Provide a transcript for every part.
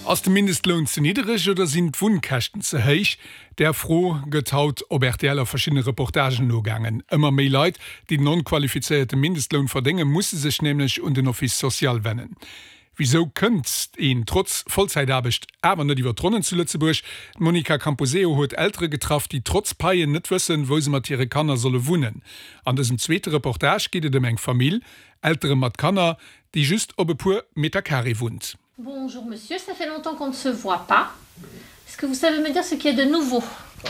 Ass de Mindestloun ze niddereg oder sinn d'Wunnkäschten ze héich? Där Fro gëtt haut op rtl a verschiddene Reportagen nogaangen. Ëmmer méi Leit, déi den onqualifizéierte Mindestloun verdéngen, musse sech nämlech un den Office social wennen. Wisou kënnt een trotz Vollzäitaarbecht awer net iwwer d'Ronnen zu Lëtzebuerg? D'Monica Camposeo huet Eltere getraff, déi trotz Paien net wëssen, wou se mat hire Kanner solle wunnen. An dësem zweete Reportage geet et ëm eng Famill, Eltere mat Kanner, déi just op e puer Metercarré wunnt. Bonjour monsieur, ça fait longtemps qu'on ne se voit pas. Est-ce que vous savez me dire ce qu'il y a de nouveau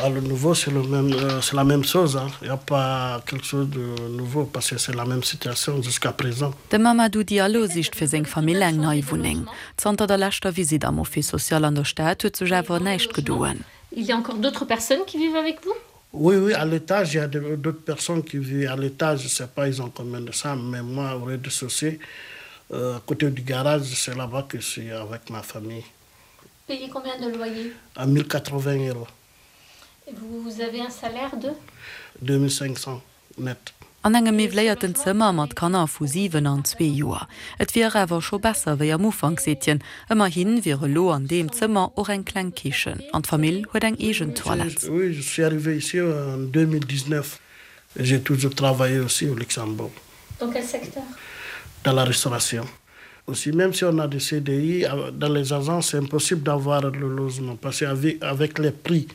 ah, Le nouveau, c'est le même, euh, c'est la même chose. Hein. Il n'y a pas quelque chose de nouveau parce que c'est la même situation jusqu'à présent. De Mamadou Diallo sicht fir seng Famill eng nei Wunneng. Zanter der leschter Visitt am Office social an der Stad huet sech awer näischt gedoen. Il y a encore d'autres personnes qui vivent avec vous? Oui, oui, à l'étage, il y a d'autres personnes qui vivent à l'étage, je sais pas, ils ont combien de chambres, mais moi, au rez-de-chaussée, euh, à côté du garage, c'est là-bas que je suis avec ma famille. Payez combien de loyer? À 1080 euros. Et vous avez un salaire de? 2500 net. An engem miwwléierten Zëmmer mat Kanner vu 7 an zwee Joer. Et wier awer scho besser wéi am Ufank, seet hien. Ëmmerhi wier elo an deem Zëmmer och eng kleng Kichen an d'Famill huet eng eegen Toilette. Oui, je suis arrivé ici en 2019 et j'ai toujours travaillé aussi au Luxembourg. Dans quel secteur? Dans la restauration aussi. Même si on a des CDI, dans les agences, c'est impossible d'avoir le logement parce qu'avec avec les prix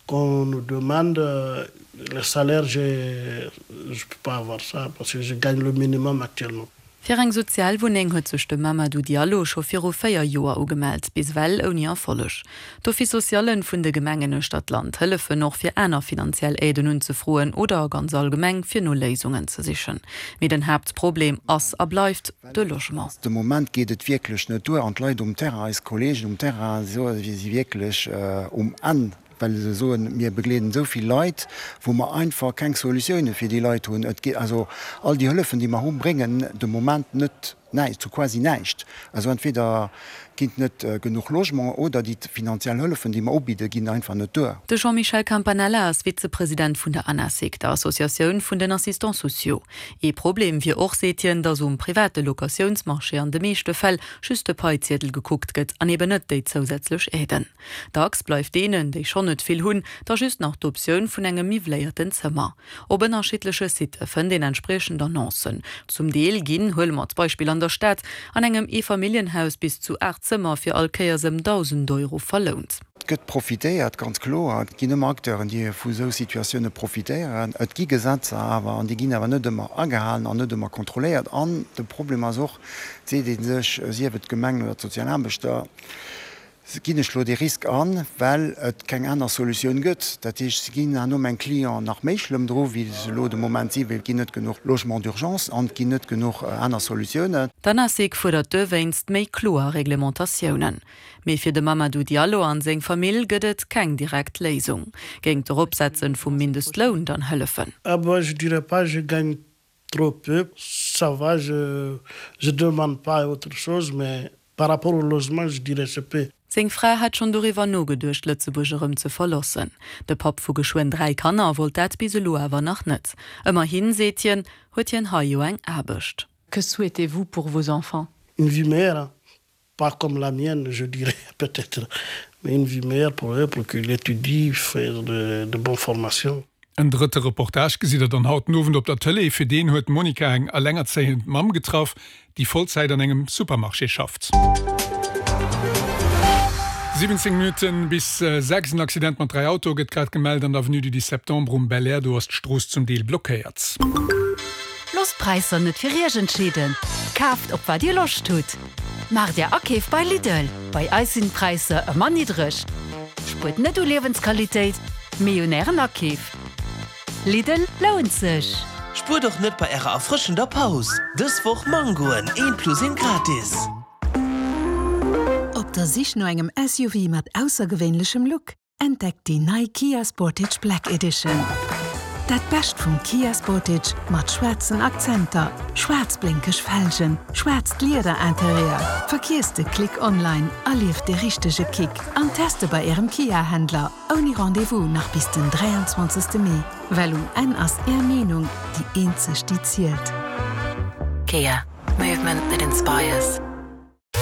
qu'on nous demande, le salaire, je je peux pas avoir ça parce que je gagne le minimum actuellement. Fir eng Sozialwunneng huet sech de Mamadou Diallo scho viru 4 Joer ugemellt, bis ewell ouni Erfolleg. D'Office-sociallen vun de Gemengen uechter d'Land hëllefen och fir aner finanziell Aiden unzefroen oder ganz allgemeng fir no Léisungen ze sichen. Mee den Haaptproblem ass a bleift de Logement. De Moment geet et wierklech net duer an d'Leit um Terrain, eis Kolleegen um Terrain, si wierklech um Enn. well se soen, mir begleeden esou vill Leit, wou mer einfach keng Solutioune fir déi Leit hunn. Et geet also, all déi Hëllefen, déi mer hu bréngen de Moment net näischt, sou quasi näischt. Also entweder ginn et net genuch Logement oder déi finanziell Hëllefen, déi mer ubidden, ginn einfach net duer. De Jean-Michel Campanella ass Vizepresident vun der ANASIC, der Associatioun vun den Assistants sociaux. Ee Problem wier och, seet hien, datt um private Locatiounsmarché an de meeschte Fäll just de Paiziedel gekuckt gëtt an eben net déi zousätzlech Aiden. Dacks bleift deenen, déi schonn net vill hunn, da just nach d'Optioun vun engem miwwléierten Zëmmer. Op ënnerschiddleche Sitte fënnt een entspriechend Annoncen. Zum Deel ginn, huele mer d'Beispill an der Stad, an engem Eefamilljenhaus bis zu 8 Zëmmer fir all Kéiers ëm 1.000 Euro verlount. Et gëtt profitéiert, ganz kloer. Et ginn ëmmer Acteuren, déi vu esou Situatioune profitéieren. Et gi Gesetzer awer, an déi ginn awer net ëmmer agehalen an net ëmmer kontrolléiert. An de Problem ass och, et seet ee sech, sief et d'Gemeng oder d'Sozialaarbechter, Ginn ech lo dee Risk an, well et keng aner Solutioun gëtt? Dat heescht, se ginn herno meng Clienten nach méi schlëmm dru wéi se elo de Moment sinn, well et ginn net genuch Logements d'urgence an et ginn net genuch aner Solutiounen. D'Anasic fuerdert dowéinst méi kloer Reglementatiounen. Mee fir de Mamadou Diallo an seng Famill gëtt et keng direkt Léisung. Géing d'Eropsetzen vum Mindestloun dann hëllefen? Ah bon, je dirais pas, je gagne Trop peu, ça va, je je demande pas autre chose, mais par rapport au logement, je dirais c'est peu. Seng Fra hätt schonn doriwwer nogeduecht, Lëtzebuerg erëm ze verloossen. De Papp vu geschwënn 3 Kanner wollt dat bis elo awer nach net. Ëmmerhin, seet hien, huet hien hei jo eng Aarbecht. Que souhaitez-vous pour vos enfants? Une vie meilleure, Pas comme la mienne, je dirais peut-être, mais une vie meilleure pour eux, pour qu'ils étudient, faire de, de bonnes formations. En drëtte Reportage gesitt der dann haut den Owend op der Tëlee. Fir deen huet d'Monica eng elengerzéiend Mamm getraff, déi Vollzäit an engem Supermarché schafft. 17 Minutten bis 6, En Accident mat 3 Autoe gëtt grad gemellt an der Avenue du 10 Septembre um Belair. Do ass d'Strooss zum Deel blockéiert. Loosst d'Präisser net fir Iech entscheeden, kaaft op wat Dir Loscht hutt! Maacht Är Akeef bei Lidl, bei eis sinn d'Präisser ëmmer niddreg. Spuert net u Liewensqualitéit, mee un Ären Akeef. Lidl lount sech! Spuert och net bei ärer erfrëschender Paus! Dës Woch Mangoen, een plus een gratis! Op der Sich no engem SUV mat aussergewéinlechem Look? Entdeckt déi nei Kia Sportage Black Edition. Dat Bescht vum Kia Sportage mat schwaarzen Akzenter, schwaarz blénkeg Felgen, schwaarzt Lieder-Interieur. Verkierzt de Klick online, erlieft de richtege Kick an teste bei Ärem Kia-Händler ouni Rendez-vous nach bis den 23 Mee, well um Enn ass Är Meenung déi eenzeg déi zielt. Kia, movement that inspires.